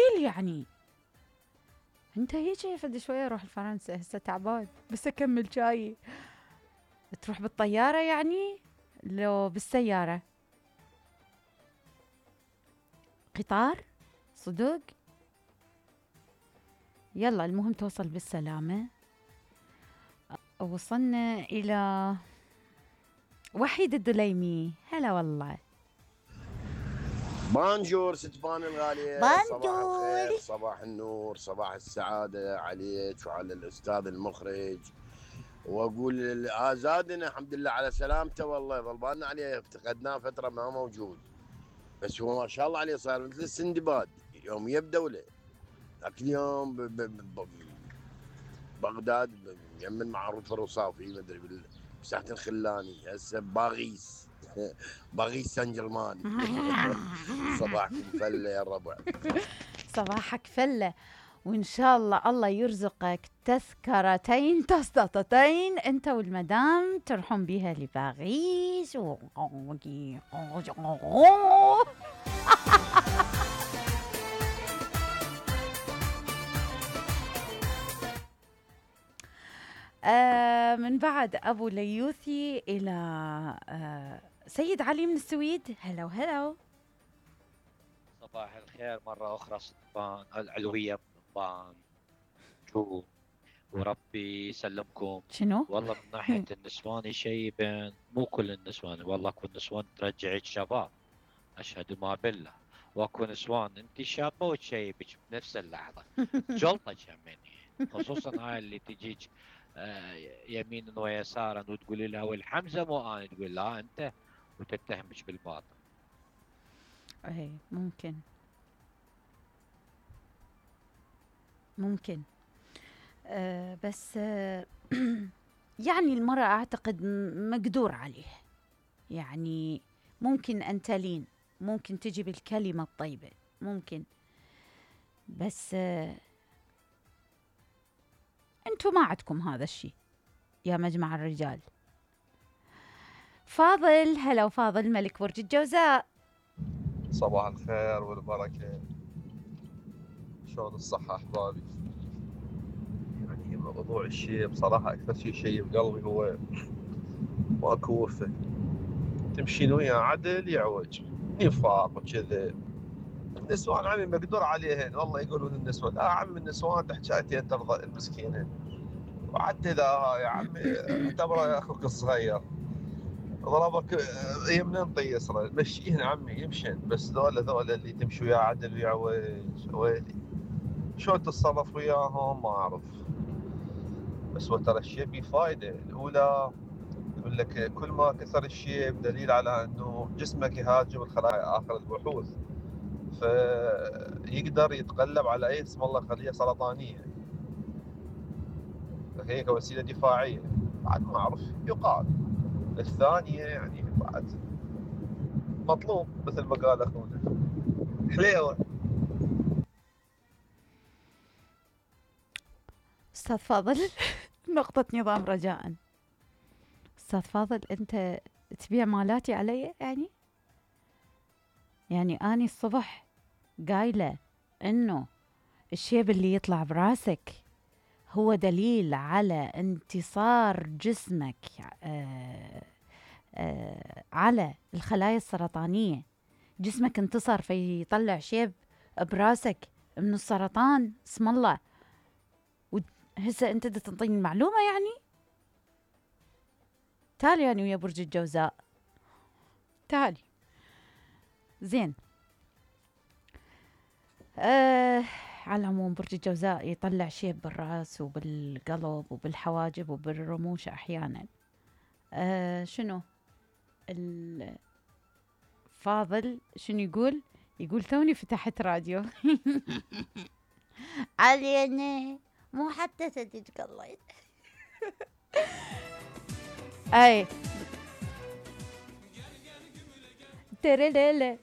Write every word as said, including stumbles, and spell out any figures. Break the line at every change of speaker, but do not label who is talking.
ثقيل يعني. انت هيجي فد شوية اروح لفرنسا هسه تعبان بس اكمل جاي. تروح بالطيارة يعني لو بالسيارة؟ قطار صدق؟ يلا المهم توصل بالسلامة. وصلنا إلى وحيد الدليمي. هلا والله.
بانجور ستفان الغالية.
بانجور.
صباح الخير، صباح النور، صباح السعادة عليك وعلى الأستاذ المخرج. وأقول آزادنا الحمد لله على سلامته، والله ظلبان عليه افتقدناه فترة ما موجود، بس هو ما شاء الله عليه صار مثل السندباد يومية بدولة. ذاك اليوم ب ب ب بغداد يمن معروف الرصافي ما ادري بساحة الخلاني، هسه باغيس باغيس سان جرمان. صباحكم فله يا الربع.
صباحك فله، وإن شاء الله الله يرزقك تذكرتين تسططتين أنت والمدام تروحون بيها لباريس. و... آه من بعد أبو ليوثي إلى آه سيد علي من السويد. هلا وهلا.
صباح الخير مرة أخرى صدفان العلوية من طبان شو، وربي يسلمكم.
شنو؟
والله من ناحية النسوان يشيبن، مو كل النسوان، والله اكو نسوان ترجعك شباب، أشهد ما بالله، واكو نسوان انت شابة وتشيبك بنفس اللحظة جلطك هميني، خصوصا هاي اللي تجيك آه يمينا ويسارا وتقولي لها والحمزة مو أنا، تقول لا أنت وتتهمك بالباطل.
ايه ممكن ممكن أه بس أه يعني المرأة أعتقد مقدور عليه، يعني ممكن أن تلين، ممكن تجي بالكلمة الطيبة، ممكن، بس أه أنتوا ما عندكم هذا الشيء يا مجمع الرجال. فاضل. هلا وفاضل ملك برج الجوزاء.
صباح الخير والبركة، شلون الصحة أحبابي؟ يعني موضوع الشيء بصراحة أكثر شيء شيء بقلبي هو ماكو وفة، تمشين ويا عدل يعوج نفاق وكذا. النسوان عمي مقدور عليهن، والله يقولون النسوان لا عم النسوان تحكيتين ترضى المسكينة، وحتى إذا يا عمي اعتبره أخوك الصغير ضربك يمنين طي يسرى مشيهن عمي يمشن، بس ذولا ذولا اللي تمشي ويا عدل ويعوج ويلي شلون تتصرف وياهم ما أعرف. بس هو ترى الشيء بيه فايدة. الأولى يقول لك كل ما كثر الشيء دليل على أنه جسمك يهاجم الخلايا آخر البحوث، فيقدر يتغلب على أي اسم الله خلية سرطانية، هي كوسيلة دفاعية. بعد ما أعرف يقال. الثانية يعني بعد مطلوب مثل ما قال أخونا حليوة.
أستاذ فاضل نقطة نظام رجاء. أستاذ فاضل أنت تبيع مالاتي علي يعني؟ يعني أني الصبح قايلة إنه الشيب اللي يطلع براسك هو دليل على انتصار جسمك آآ آآ على الخلايا السرطانية، جسمك انتصر فيطلع شيب براسك من السرطان. اسم الله. هسه انت دا تنطيني المعلومة يعني؟ تعالي يعني ويا برج الجوزاء، تعالي زين. آه على العموم برج الجوزاء يطلع شيب بالراس وبالقلب وبالحواجب وبالرموش أحيانا. آه شنو الفاضل شنو يقول؟ يقول توني فتحت راديو. علينا مو حتى تدج الله. اي ترى لا لا